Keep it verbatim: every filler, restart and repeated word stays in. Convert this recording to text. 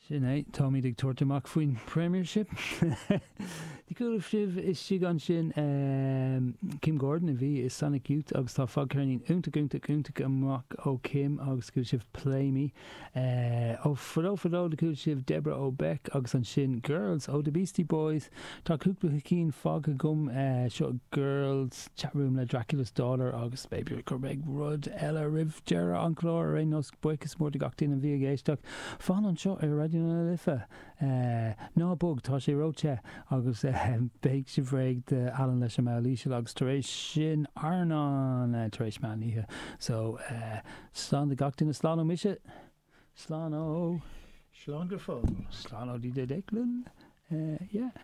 Sin é táimid ag tabhairt amach faoin Premiership. Chuala sibh istigh ansin um, Kim Gordon a bhí i Sonic Youth agus tá fadcheirnín iontach iontach iontach amach ó Kim agus chuala sibh Play Me. Uh, ó fadó fadó do chuala sibh Deborah O'Beck agus ansin Girls ó The Beastie Boys Tá cúpla cinn fágtha agam uh, seo Girls Chatroom le Dracula's Daughter agus b'fhéidir gur beidh rud eile roimh deireadh an chlár ar aon nós buíochas mór de gach duine a bhí ag éisteacht. Fan anseo ar Raidió na Life. Uh, ná bog tá sé róthe agus uh, beidh sibh réidh de Alan leis an Líseil agus tar éis sin Arnán uh, tar éis meán oíche. So uh, slán de gach duine slán ó mise Slán ó Slán go fóill. Slán ó DJ Declan. Uh, yeah.